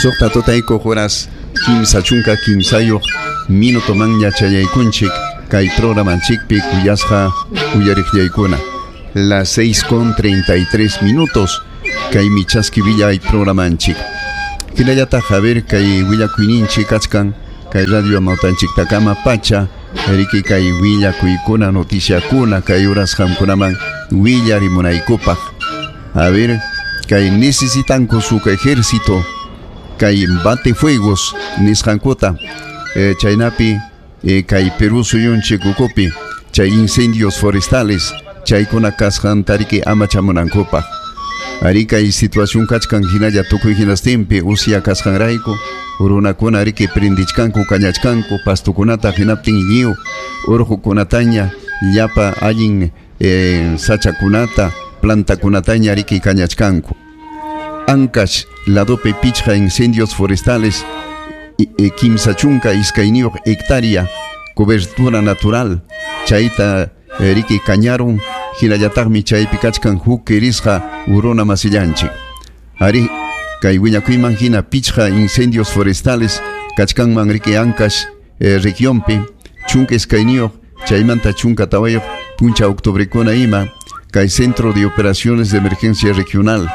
Suqta tutaykuq horas 33 minutomanña chayaykunchik kay programanchikpi kuyasqa uyariqllaykuna. Las 6:33 kaymi chaski villay programanchik. Hinallataq a ver kay willakuyninchik kachkan kay radio amawtanchiktakama pacha riki kay willakuykuna noticiakuna kay horas qamkunaman willarimunaykupaq. A ver kay necesitanku suk ejército kay batefuegos nisqankuta chaynapi kay Perú suyunchik ukupi chay incendios forestales chaykuna kasqanta riki amachamunankupaq. Ari kay situación kachkan hinalla tukuy hinastinpi usya kasqanrayku runakuna riki prendichkanku kañachkanku pastukunata hinaptin lliw urqukunataña llapa allin sachakunata plantakunataña riki kañachkanku. Ancash ladopi pichqa incendios forestales 32 hectárea cobertura natural chayta riki kañarun hinallataqmi chaypi kachkan huk kirisqa uruna masillanchik. Ari kay willakuyman hina pichqa incendios forestales kachkanman riki Ancash regionpi 12 chaymanta 14 puncha octubrekuna ima kay Centro de Operaciones de Emergencia Regional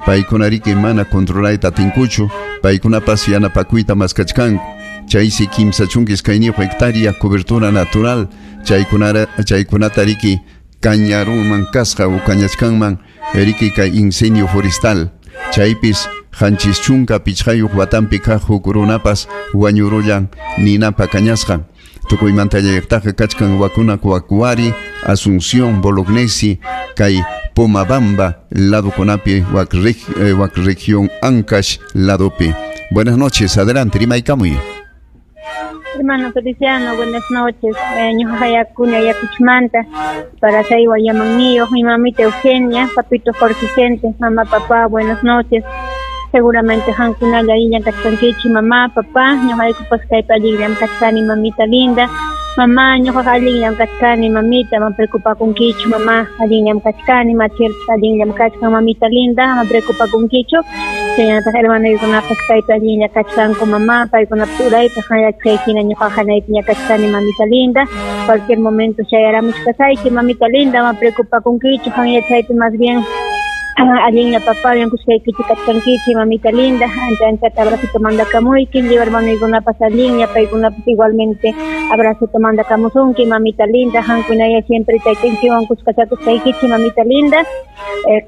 paykuna riki mana controlayta atinkuchu paykunapas yanapakuyta maskachkanku chaysi 32 hectárea cobertura natural chaykunata riki kañarunman kasqa o kañachkanman riki kay incendio forestal chaypis 75 watanpi kaq huk runapas wañurullan ninapa kañasqan. Tukuymanta llaqtaqa kachkan wakuna Cuacuari, Asunción, Bolognesi, kay Pomabamba ladokunapi wak región Ancash ladopi. Buenas noches, adelante, rimaykamuy. Hermano Feliciano, buenas noches. Ñuqayakuni Ayacuchmanta, para Saywa Yamannío, mi mamita Eugenia, papito Jorge Vicente, mamá, papá, buenas noches. Seguramente hankunalla illan kachkankichik, mamá, papá, ñuqaykupas kaypi allinllam kachkani, mamita linda. Mamá, ñuqaqa allinllam kachkani, mamita, ama preocupakunkichu, mamá, allinllam kachkani, machirpas allinllam kachkan, mamita linda, ama preocupakunkichu. Chaynataq hermanoykunapas kaypi allinlla kachkanku, mamá, paykunapas uraypaq hayachkayhina ñuqaqa hanaypiña kachkani, mamita linda. Cualquier momento chayaramuchkasayki, mamita linda, ama preocupakunkichu, hanyachaypi más bien allinlla papá, kushkaykichik kachkankichik, mamita linda, ancha anchata abracito mandakamuyki, lliw hermanoykunapas allinlla, paykunapas igualmente abracito mandakamusunki, mamita linda, hankunaya siempre taytanchikwan kushkachakushkaykichik, mamita linda,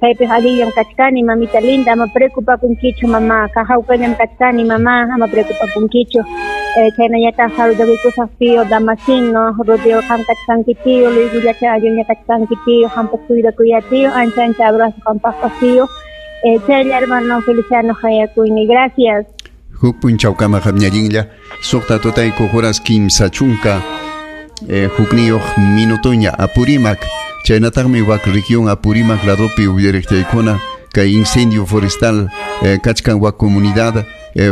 kaypiq allinllam kachkani, mamita linda, ama preocupakunkichu, mamá, hawkallam kachkani, mamá, ama preocupakunkichu. Chaynallataq saludakuykusaq tío Damasino, Rodeo qam kachkanki tío, Luis Gullacha allinlla kachkanki tío, qampas cuidakuya tío, ancha ancha abrazo qampaqpas tío. Chaylla hermano Feliciano hayakuyni, gracias. Huk punchawkama qamñallinlla suqta tutaykuq horas 30 hukniyuq minutoña Apurímac chaynataqmi wak región Apurímac ladopi uyariqchaykuna kay incendio forestal kachkan wak comunidad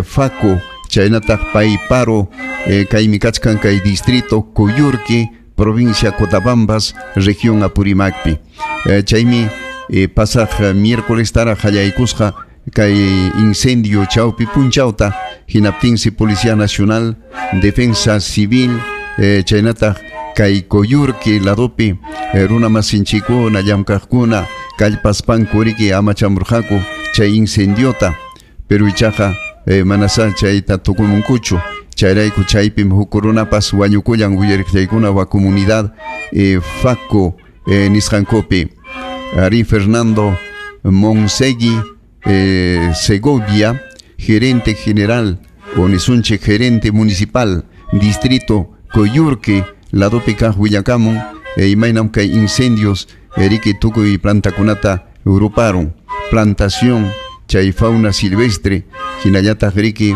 Faco chaynataq Payparo kaymi kachkan kay distrito Coyurqui provincia Cotabambas región Apurímacpi chaymi pasaq miércoles tara qallaykusqa kay incendio chawpi punchawta hinaptinsi Policía Nacional Defensa Civil chaynataq kay Coyurqui ladopi runa masinchikuna llamkaqkuna kallpaspanku riki amachamurqaku chay incendiota pero ichaqa manasá chayta tukumunkuchu chayrayku chaypim huk runapas wañukullan uyariqchaykuna wa comunidad Faco nisqankupi. Ari Fernando Monsegui Segovia, gerente general o nisunchik gerente municipal distrito Coyurqui ladopi kaq willakamun imaynam kay incendios riki tukuy plantakunata ruparun plantación chay fauna silvestre hinallataq riki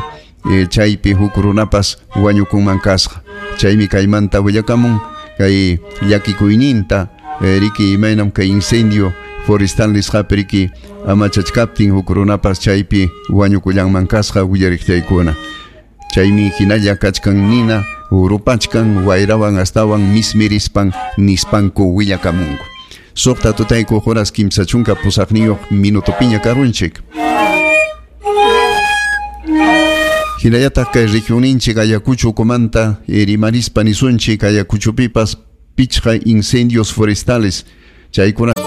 chaypi huk runapas wañukunman kasqa chaymi kaymanta willakamun kay llakikuyninta riki imaynam kay incendio forestal nisqapi riki amachachkaptin huk runapas chaypi wañukullanman kasqa willariqchaykuna chaymi hinalla kachkan nina Rupachkan wayrawan astawan mismirispan nispanku willakamunku. Suqta tutayku horas 38 minutopiña karunchik. Hinallataq kay regioninchik Ayacucho ukumanta rimarispa nisunchik, Ayacuchopipas pichqa incendios forestales chaykuna.